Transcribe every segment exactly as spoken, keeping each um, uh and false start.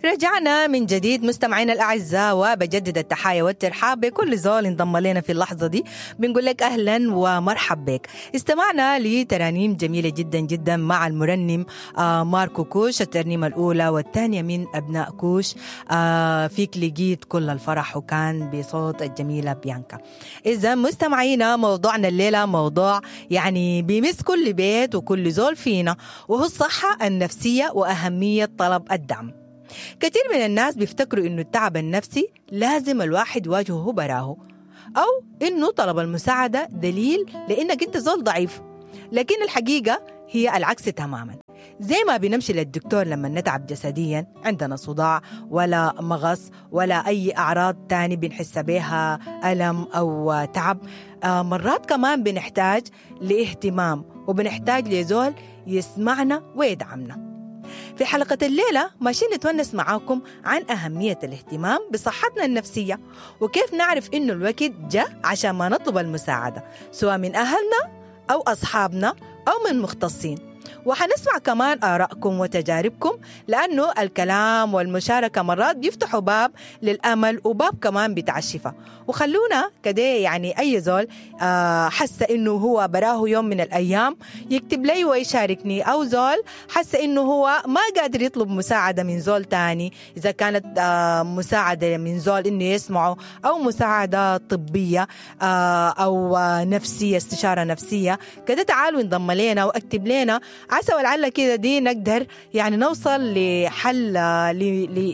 رجعنا من جديد مستمعينا الأعزاء، وبجدد التحايا والترحاب بكل زول انضم لنا في اللحظة دي. بنقول لك أهلا ومرحب بك. استمعنا لترانيم جميلة جدا جدا مع المرنم آه ماركو كوش، الترنيمة الأولى والثانية من أبناء كوش، آه فيك لقيت كل الفرح، وكان بصوت الجميلة بيانكا. إذا مستمعينا موضوعنا الليلة موضوع يعني بيمس كل بيت وكل زول فينا، وهو الصحة النفسية وأهمية طلب الدعم. كثير من الناس بيفتكروا إنه التعب النفسي لازم الواحد يواجهه براه، أو إنه طلب المساعدة دليل لإنك أنت زول ضعيف، لكن الحقيقة هي العكس تماما. زي ما بنمشي للدكتور لما نتعب جسديا، عندنا صداع ولا مغص ولا أي أعراض تاني بنحس بها ألم أو تعب، مرات كمان بنحتاج لاهتمام وبنحتاج لزول يسمعنا ويدعمنا. في حلقة الليلة ماشيين نتونس معاكم عن أهمية الاهتمام بصحتنا النفسية، وكيف نعرف إنه الوقت جاء عشان ما نطلب المساعدة سواء من أهلنا أو أصحابنا أو من مختصين. وحنسمع كمان آرائكم وتجاربكم، لأنه الكلام والمشاركة مرات بيفتحوا باب للأمل وباب كمان بتاع الشفاء. وخلونا كده يعني أي زول حس إنه هو براه يوم من الأيام يكتب لي ويشاركني، أو زول حس إنه هو ما قادر يطلب مساعدة من زول تاني، إذا كانت مساعدة من زول إنه يسمعه، أو مساعدة طبية أو نفسية، استشارة نفسية كده، تعالوا انضم لنا واكتب لنا، عسى ولعل كده دي نقدر يعني نوصل لحل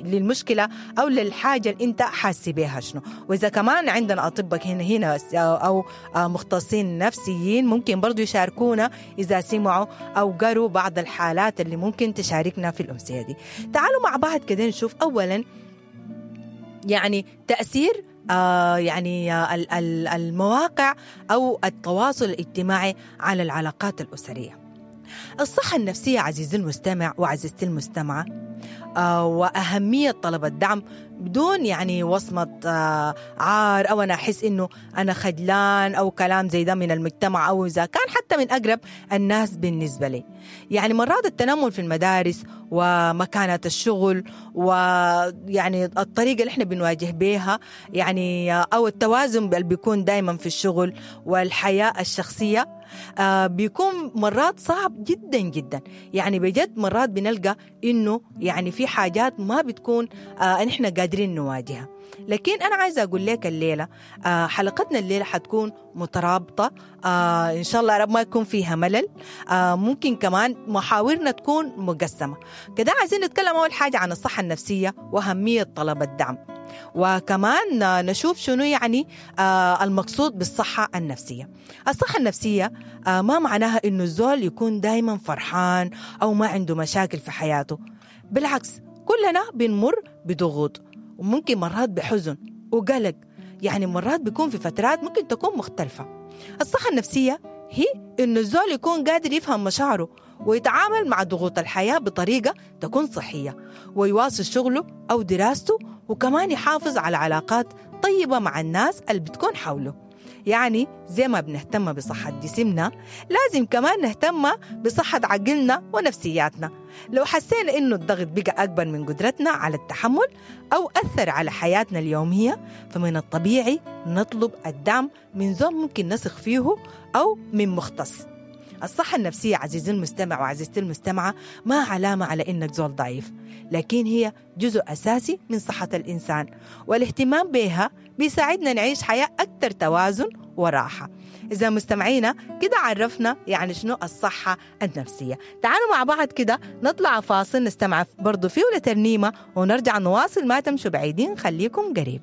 للمشكلة أو للحاجة اللي أنت حاسي بيها شنو. وإذا كمان عندنا أطباء هنا هنا أو مختصين نفسيين ممكن برضو يشاركونا إذا سمعوا أو قروا بعض الحالات اللي ممكن تشاركنا في الأمسية دي. تعالوا مع بعض كده نشوف أولا يعني تأثير آه يعني المواقع أو التواصل الاجتماعي على العلاقات الأسرية. الصحة النفسية عزيزي المستمع وعزيزتي المستمعة، آه وأهمية طلب الدعم بدون يعني وصمة آه عار أو أنا أحس إنه أنا خجلان أو كلام زي ده من المجتمع، أو إذا كان حتى من أقرب الناس بالنسبة لي. يعني مرات التنمر في المدارس ومكانة الشغل ويعني الطريقة اللي احنا بنواجه بيها يعني، أو التوازن اللي بيكون دايما في الشغل والحياة الشخصية، آه بيكون مرات صعب جدا جدا. يعني بجد مرات بنلقى إنه يعني في حاجات ما بتكون آه نحن قادرين نواجهها. لكن أنا عايزة أقول لك الليلة آه حلقتنا الليلة حتكون مترابطة، آه إن شاء الله رب ما يكون فيها ملل، آه ممكن كمان محاورنا تكون مقسمة كده. عايزين نتكلم أول حاجة عن الصحة النفسية وأهمية طلب الدعم، وكمان نشوف شنو يعني آه المقصود بالصحة النفسية. الصحة النفسية آه ما معناها إنه الزول يكون دايما فرحان أو ما عنده مشاكل في حياته، بالعكس كلنا بنمر بضغوط وممكن مرات بحزن وقلق، يعني مرات بيكون في فترات ممكن تكون مختلفة. الصحة النفسية هي إنه الزول يكون قادر يفهم مشاعره ويتعامل مع ضغوط الحياة بطريقة تكون صحية، ويواصل شغله أو دراسته، وكمان يحافظ على علاقات طيبة مع الناس اللي بتكون حوله. يعني زي ما بنهتم بصحة جسمنا لازم كمان نهتم بصحة عقلنا ونفسياتنا. لو حسينا إنه الضغط بقى أكبر من قدرتنا على التحمل أو أثر على حياتنا اليومية، فمن الطبيعي نطلب الدعم من زول ممكن نثق فيه أو من مختص. الصحة النفسية عزيزي المستمع وعزيزتي المستمعة ما علامة على إنك زول ضعيف، لكن هي جزء أساسي من صحة الإنسان، والاهتمام بها بيساعدنا نعيش حياة أكثر توازن وراحة. إذا مستمعينا كده عرفنا يعني شنو الصحة النفسية. تعالوا مع بعض كده نطلع فاصل نستمع برضو فيه لترنيمة ونرجع نواصل، ما تمشوا بعيدين، خليكم قريب.